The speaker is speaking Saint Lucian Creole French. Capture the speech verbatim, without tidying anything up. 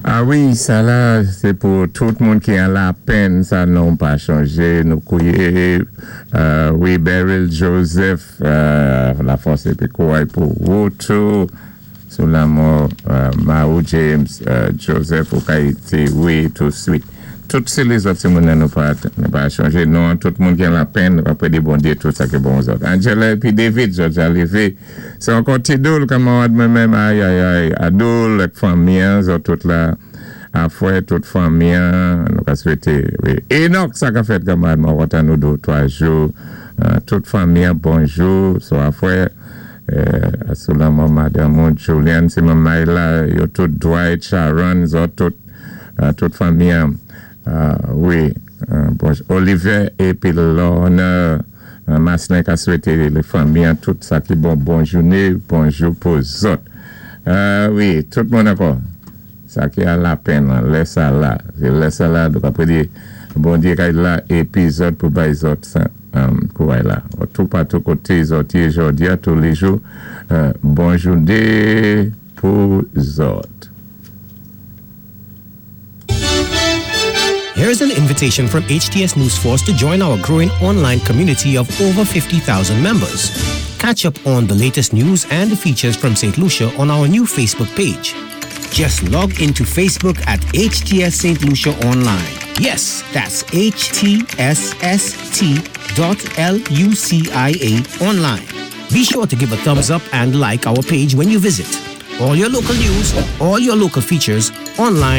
Ah wi, sa la, sé pou tout moun ki an lapenn, sa non pa chanjé, nou kwiyé, euh, wi, Beryl Joseph, euh, lafòs épi kouway pou wou tou, sou lanmò, euh, Mao James, euh, Joseph ou Haïti, wi, toutswit. Tout sé lézòt ti moun nou pa, nou pa chanjé, non, tout moun ki an lapenn, nou ka di Bondyé tout sa ki bon zòt. Angela épi David, zòt ja lévé. Sé ankò ti Doul, kanmarad mwen menm, ay, ay, ay, Adoul, ak fanmi, zòt tout la, afwè, tout fanmi, nou ka swété, wi. Enoch, sa ka fèt, kanmarad, mwen kontan nou dé, twa jou, euh, tout fanmi, bonjou, so afwè, euh, sou lanmò madanm Julian, si manmay la, yo tout Dwight, Sharon, zòt tout, euh, tout fanmi, euh, wi, euh, bon, Oliver épi Lorna, euh, Maslin ka swété lé fanmi, tout sa ki bon, bon jouné, bonjou pou zòt. Euh, wi, tout moun ankò. Sa ki an lapenn, lè sa la. Sé lè sa la, donk apwé di, Bondyé kay la, épi zòt pou bay zòt sa, um, kouway la. Tout patou koté zòt yé jòdi a, tou lé jou, euh, bon jouné pou zòt. Here's an invitation from HTS News Force to join our growing online community of over fifty thousand members. Catch up on the latest news and features from Saint Lucia on our new Facebook page. Just log into Facebook at H T S Saint Lucia Online. Yes, that's H T S S T dot L U C I A online. Be sure to give a thumbs up and like our page when you visit. All your local news, all your local features online.